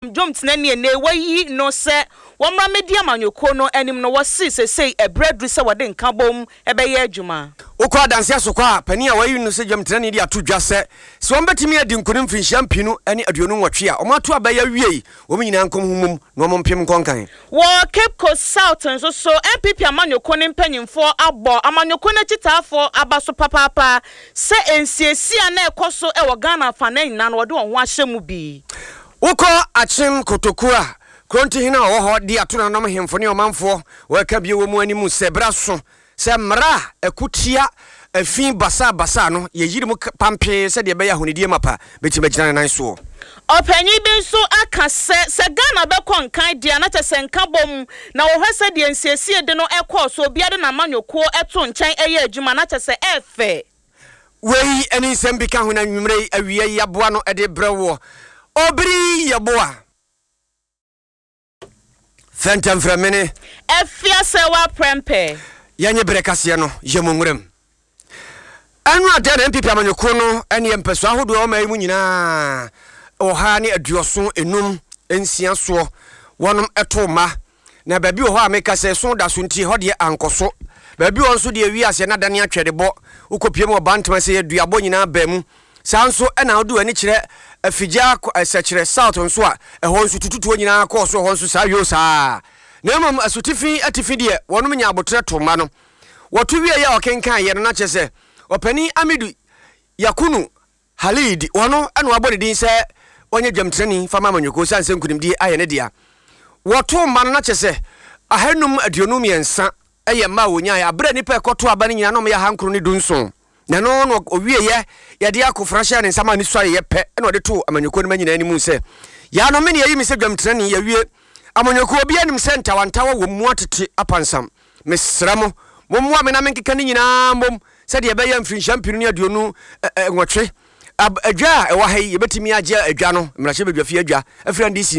Dwomtenani a nnɛ wɔayi no sɛ wɔmmra mmɛdi amanyɔkuo no anim no, wɔse sesei ɛberɛ aduru sɛ wɔde nkabom bɛyɛ adwuma. Wokɔ adanse asokwa a, panin a wɔayi no sɛ dwamtenani de ato dwa sɛ, sɛ wɔbɛtumi adi nkonim mfirinhyia mpenu ne aduonu nwɔtwe a wɔato aba yi awiei, wɔn nyinaa nkɔm ho mmom na wɔmpem nkɔ nkan. Wɔ Cape Coast South nso so, NPP amanyɔkuo no mpanyimfoɔ abɔ amanyɔkuo no akyitaafoɔ aba so papaapa sɛ nsiesie a na ɛkɔ so wɔ Ghana afanan nyinaa no wɔde wɔn ho ahyɛ mu bi. Wokɔ Akyem Kotoku a, Kronti hene a ɔwɔ hɔ de ato nananom hemfo ne ɔmanfoɔ wɔreka bio wɔ mu anim sɛ berɛ aso sɛ mmara a ɛko tia afi basabasa no yɛyiri mu pampee sɛdeɛ ɛbɛyɛ ahonidie mapa bɛtumi agyina ne nan soɔ. Ɔpanyin bi nso aka sɛ, sɛ Ghana bɛkɔ nkan deɛ a na kyerɛ sɛ nkabom na wɔhwɛ sɛdeɛ nsiesie de no kɔɔ so, obiara de n'amanyɔkuo to nkyɛn yɛ adwuma na kyerɛ sɛ ɛɛfɛ. Wei ne nsɛm bi ka ho na anwummerɛ yi awia yi aboa no de brɛ woɔ. Obiri Yeboah. Fɛntɛmfrɛmene. Afiasɛwa prɛmpɛ. Yɛnye berɛ kaseɛ no yɛ mu nwuram. Ɛno adɛn na NPP amanyɔkuo no ne mpɛsoa ahodoɔ ɛwɔ ɔman yi mu nyinaa 185 6 soɔ wɔnom too mma. Na baabi wɔ hɔ a meka sɛ ɛso da so nti ɛhɔ deɛ ankɔ so. Baabi wɔ hɔ nso deɛ wiase na adane atwɛdebɔ. Wokɔpie mu wɔ Bantama sɛ aduabɔ nyinaa baa mu. Saa nso na wode w'ani kyerɛ Afigya Sɛkyerɛ South nso a, ɛhɔ nso tututuo nyinaa kɔɔ so ɛhɔ nso saa yoo saa. Na mmom asutifi atifi deɛ wɔnom nyaa aboterɛ too mma no. Wɔto wieeɛ a ɔkenkaneeɛ no na kyerɛ sɛ Ɔpanin Amidu Yakunu Halid, ɔno na wɔabɔ ne din sɛ ɔnyɛ dwamtenani fa ma amanyɔkuo ɛsiane sɛ nkunimdie ayɛ ne dea. Wɔtoo mma no na kyerɛ sɛ 523 yɛ mma a wɔnyaeɛ aberɛ a nnipa a ɛkɔtoo aba no nyinaa na wɔyɛ 917. Na ɛno na ɔwieeɛ yɛde akofena hyɛɛ ne nsa maa ne suaeɛ pɛ na ɔde too amanyɔkuo no mma nyinaa anim sɛ, Yaanom me ne yɛayi me sɛ dwamtenani, yɛawie. Amanyɔkuo, obiara nim sɛ ntawantawa wɔ mu atete apansam. Mesrɛ mo, mommoa me na menkeka ne nyinaa mmom sɛdeɛ ɛbɛyɛ a mfirinhyia 2028 adwa a ɛwɔ ha yi, yɛbɛtumi agye adwa no, mmarahyɛbadwafie adwa, afiri NDC nsam.